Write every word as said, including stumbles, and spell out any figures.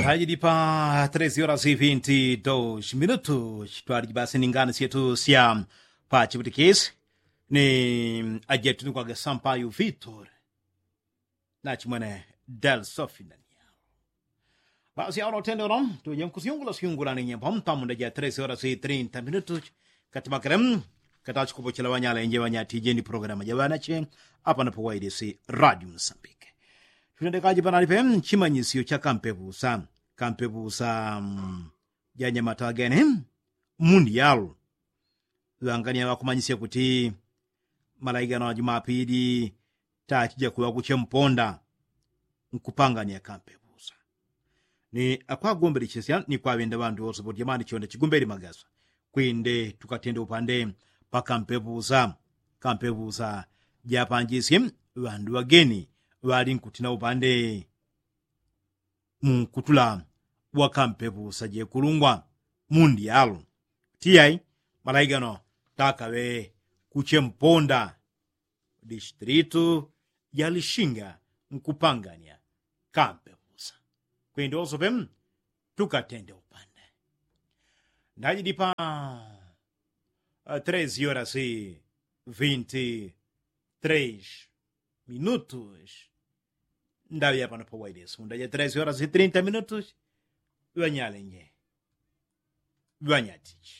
Tayili pa tresi horas vinti dos minutu chitwaliji basi ni ngani syetu sya pachiputikisi ni ajetu ni kwage sampayu vitor nachimwene del sofinania. Basi awo notendero tuje nkusyungula syungula ni nyembo mpamunda ja tresi horas trinta minutu katimakile katachikupochela wanyalenje wanyatije ni programa ja wanache apa napo wailisi radio msambike. Chutendekaji panalipe chimanyisyo cha kampepusa kampepusa janyamata wagene mundi yalo ŵangania ŵakumanyisya kuti malaigano a jumapili tachija kuŵa kuche mponda nkupangania kampepusa ni akwagombelechesya ni kwaŵenda ŵandu wose poti jamani chonde chigumbeli magasa kwinde tukatende upande pakampepusa kampepusa japanjisye ŵandu ŵageni ŵali nkutina upande munkutula wakampepusa jekulungwa mundi yalo tiyai malaigano takaŵe kuche mponda distritu ya lishinga nkupangania kampepusa kwindi wosope tukatende upande ndajidi pa tresi horas vinti tres minutus ndaŵi apano pa wailisi undaja tresi horas trinta minutus ŵanyalenje ŵanyatiji.